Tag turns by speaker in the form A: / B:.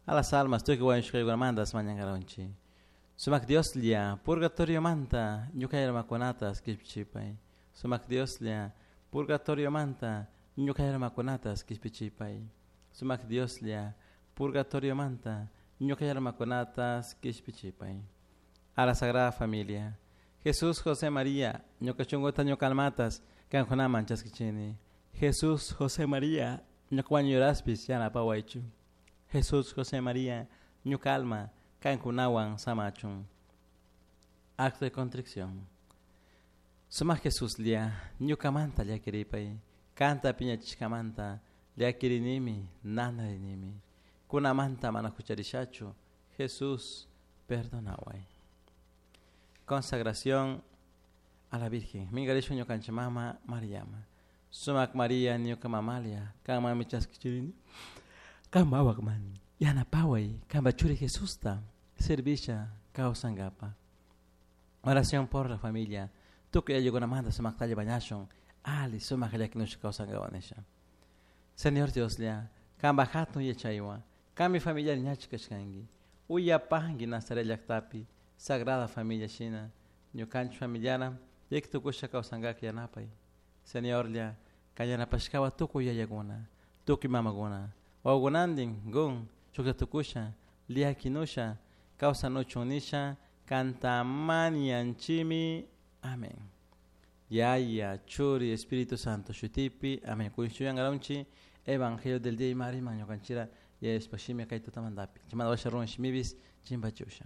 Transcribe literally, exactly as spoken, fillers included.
A: A las almas tukuy wañushkaykunamantas mañankaronchik. Sumak Dioslla, purgatoriomanta ñuka almakunatas kishpichipay. Sumak Dioslla, purgatoriomanta ñuka almakunatas kishpichipay. Sumak Dioslla, purgatoriomanta ñuka almakunatas kishpichipay. A la Sagrada Familia. Jesús, José, María, ñuka shunkuta ñuka almatas kankunaman chaskichini. Jesús, José, María, ñuka wañuraspis yanapawaychu. Jesús, José, María, ñuka alma kankunawan samachun. Acto de contrición. Sumak Jesuslla, ñukamanta llakiripay, kanta piñachishkamanta llakirinimi, nanarinimi. Kunamanta mana hucharishachu, Jesús, perdonaway. Consagración a la Virgen. Minkarishun ñukanchik mama Mariama. Sumak María ñuka mamalla, kanmanmi chaskichirini. Kanpak wawaman, yanapaway, kanpak churi Jesusta, servisha kawsankapa. Oración por la familia. Tukuy ayllukunamanta sumaktalla mañashun, ali sumak llakinushka kawsankapak nisha. Señor Dioslla, kanpak hatun yachaywan, kanmi familia ñachi kashkanki. Uyapanki Nazaret llaktapi, Sagrada Familia shina, ñukanchik familiara, llaki tukushka kawsankak yanapay. Señorlla, kan yanapashkawan tukuy yayakuna, tukuy mamakuna, wawakunantin gun shuklla tukusha, llakinusha, kawsanuchun nisha, kanta mañanchimi. Amén. Yaya, Churi, Espíritu Santo, shutipi, amén. Kunshuyangaronchi, Evangelio del día y mari, mañocanchira, y espashimi kay tutamandapi. Chimanda washa run shimibis, chimbachusha.